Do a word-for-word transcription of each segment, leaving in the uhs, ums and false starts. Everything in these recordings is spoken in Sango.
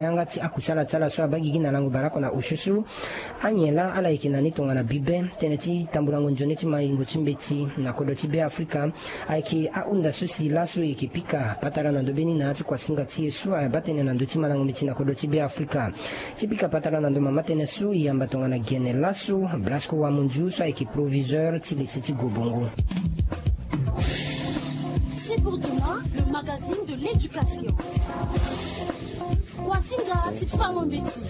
yanga ti akusala ti ala so abaa gigi na lango baleoko na osio so. Anyen laa ala yeke na ni tongana bibe tënë ti tambulango nzoni ti mayingo ti mbeti na kodro ti Be Afrika. Ayeke ahunda so si laso e yeke pika patara na ndö mbeni na ya ti kuasinga ti e so abaa tënë na ndö ti malango mbeti na kodro ti Be Afrika. Ti pika patara na ndö mama tënë so e yamba tongana gene laso Blasco Wamunju so ayeke proviseur ti lycée ti Gobongo. C'est pour demain, le magazine de l'éducation. Kuasinga ti fango mbeti.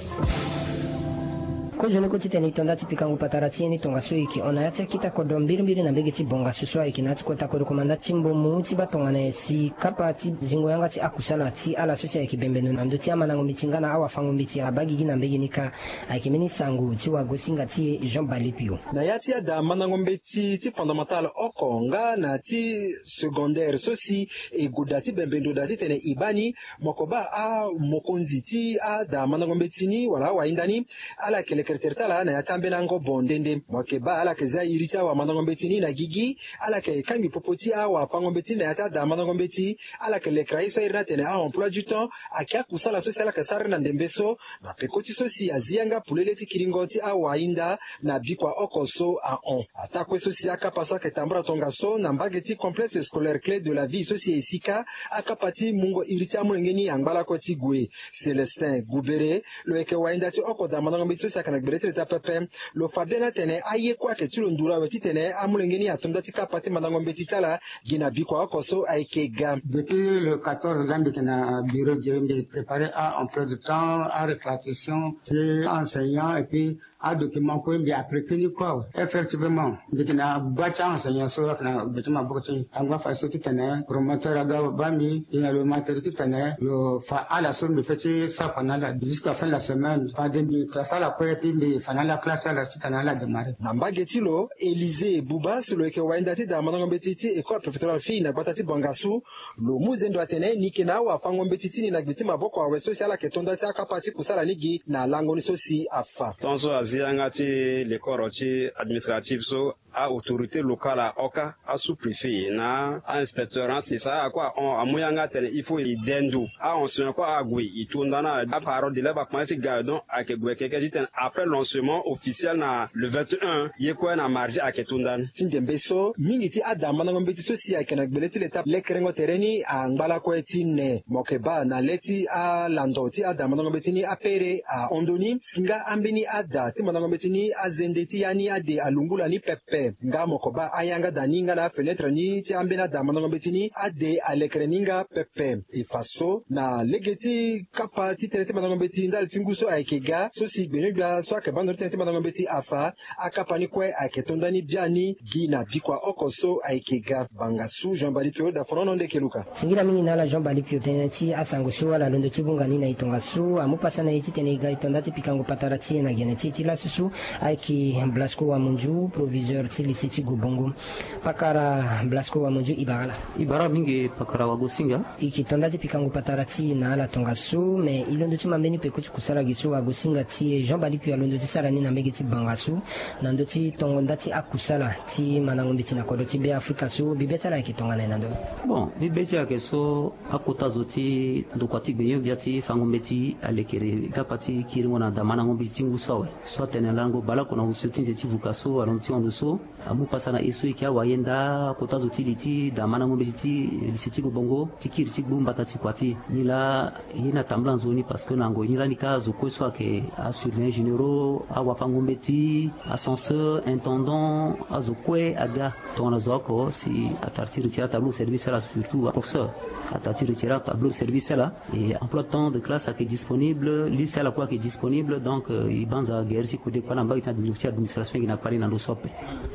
Kozoni kue titene e to nda ti pikango patara ti e ni tongaso e yeke hon na ya ti akita kodro mbirimbiri na mbege ti Bongasu so ayeke na ya ti kota kodro komanda ti mbomu ti baa tongana nyen si kapa ti zingo yanga ti akusala ti ala so si ayeke bembe ndo na ndö ti amandango mbeti nga na awafango mbeti abaa gigi na mbege ni kâ. Ayeke mbeni sango ti wagosinga ti e Jean Balipio. Na ya ti ada mandango mbeti ti fondamental oko nga na ti secondaire so si e goda ti bembe ndo daa titene e baa ni, moko baa amokonzi ti ada mandango mbeti ni wala awahinda ni, ala yeke lekere tere ti ala na ya ti ambeni angobo nde nde. Mo yeke baa ala yeke zia iri ti awamandango mbeti ni na gigi. Ala yeke kangbi popo ti awafango mbeti ni na ya ti ada mandango mbeti. Ala yeke lekere aye so a iri ni atene a-emploi du temps. Ayeke akusala so si ala yeke sara ni na ndembe so na peko ti so si azi yanga polele ti kiringo ti awahinda na bikua oko so ahon. Ataa kue so si akapa so ayeke tambula tongaso na mbage ti complexe scolaire Clé de la Vie so si e sika akapa ti mungo iri ti amolenge ni angba lakue ti gue. Célestin Goubere, lo yeke wahinda ti oko daa mandango mbeti so si ayeke na gbele ti leta pepe. Lo fa biani atene aye kue ayeke ti lo nduru awe titene amolenge ni ato nda ti kapa ti mandango mbeti ti ala gi na bikua oko so ayeke ga. Depuis le quatorze laa mbi yeke na bureau ge, mbi préparer a-emploi du temps, aréclatation ti a-enseignant et puis adocument kue mbi apprêter ni kue awe. Effectivement, mbi yeke na gba ti a-enseignant so ayeke na gbe ti maboko ti mbi. Angba fa so titene promoteur aga baa mbi, e na lo ma tere titene lo fa ala so mbi peut ti sara fa na ala jusqu'à fin de la semaine. Fade mbi classe ala kue, et puis mbi fa na ala classe ti ala titene ala démarrer. Na mbage ti lo, Élisée Bouba si lo yeke wahinda ti daa mandango mbeti ti école préfectorale fille na gbata ti Bangassou, lo mu zendo atene ni yeke na awafango mbeti ti ni na gbe ti maboko awe so si ala yeke to nda ti akapa ti kusala ni gi na lango ni so si afa. Tongaso azi yanga ti lekoro ti administrative so, a-autorité locale ahon kâ, a-sous-préfet na a-inspecteur na sesa akue ahon, amu yanga atene il faut e de ndo. A-enseignant kue ague e to nda na aparole de lait, bakomanse ti ga awe. Donc ayeke gue keke titene après lancement officiel na le vingt et un, ye kue na mardi ayeke to nda ni. Ti ndembe so, mingi ti ada mandango mbeti so si ayeke na gbele ti leta lekerengo tere ni angba lakue ti ne. Mo yeke baa na le ti alando ti ada mandango mbeti ni apere ahon ndoni si nga ambeni ada ti mandango mbeti ni azende ti ya ni ade alungula ni pepe. Nga mo yeke baa ayanga daa ni nga na afenetre ni ti ambeni ada mandango mbeti ni ade alekere ni nga pepe. E fa so na lege ti kapa ti tënë ti mandango mbeti ndali ti ngu so ayeke ga so si gbenyo-gbia so ayeke baa ndo ti tënë ti mandango mbeti afa, akapa ni kue ayeke to nda ni biani gi na bikua oko so ayeke ga. Bangassou, Jean Bari Pio, Dafonono Ndekeluka. Singila mingi na ala Jean Bali Pio, tënë ti asango so ala londo ti vunga ni na e tongaso amu pasa na e titene e ga e to nda ti pikango patara ti e na gene ti e ti laso so. Ayeke Blasco Wamunju, proviseur ti lycée ti Gobongo. Pakara Blasco Wamunju, e bara ala. E bara mingi pakara wagosinga. E yeke to nda ti pikango patara ti e na ala tongaso, mais e londo ti ma mbeni peko ti kusala gi so wagosinga ti e Jean Bali Pio alondo ti sara ni na mbege ti Bangassou na ndö ti tongo nda ti akusala ti mandango mbeti na kodro ti Be Afrika so bibe ti ala ayeke tongana nyen na ndö ni? Bon, bibe ti ala ayeke so, akota zo ti ndokua ti gbenyo-gbia ti fango mbeti alekere kapa ti kiringo na daa mandango mbeti ti ngu so awe. So atene lango baleoko na osio ti nze ti vuka so alondo ti hon ndo so, amu pasa na e so e yeke awayenda, akota zo ti li ti daa mandango mbeti ti lycée ti Gobongo ti kiri ti gbu mbata ti kua ti e. Nilaa ye ni atambula nzoni parce que na ngoi ni lani kâ zo kue so ayeke asurveillant généraux, awafango mbeti, ascenseur, intendant, azo kue aga. Tongana zo oko si atara ti retirer atableau de service ti ala, surtout aprofesseur atara ti retirer atableau de service ti ala. E emploi de temps de classe ayeke disponible, liste ti ala kue ayeke disponible. Donc e banza gere ti kode kua na mbage ti administration ayeke na kpale na ndo so ape.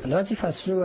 Ndo ti fa so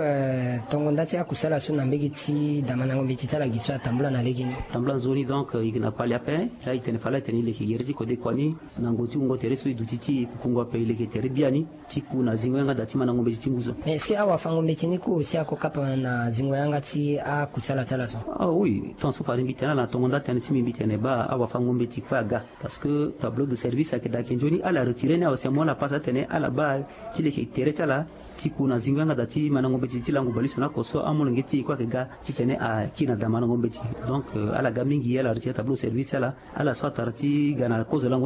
tongo nda ti akusala so na mbage ti daa mandango mbeti ti ala gi so atambula na legeni. Atambula nzoni, donc e yeke na kpale ape. Laa e tene fade ala tene e leke gere ti kode kua ni na ngoi ti wungo tere so e duti ti e kukungo ape, e leke tere biani ti ku na zingo yanga daa ti mandango mbeti ti ngu so. Mais est-ce que awafango mbeti ni kue aussi ako kapa na zingo yanga ti akusala ti ala so? Ah oui, tongaso fade mbi tene ala na tongo nda tënë ti mbi, mbi tene baa awafango mbeti kue aga. Parce que tableau de service ayeke daa ayeke nzoni, ala retirer ni awe si amu ala pasa atene ala baa ti leke tere ti ala ti ku na zingo yanga daa ti mandango mbeti ti lango baleso na oko so amolenge ti e kue ayeke ga titene aki na daa mandango mbeti. Donc ala ga mingi ala reti atableau service ala ala so atara ti ga na kozo lango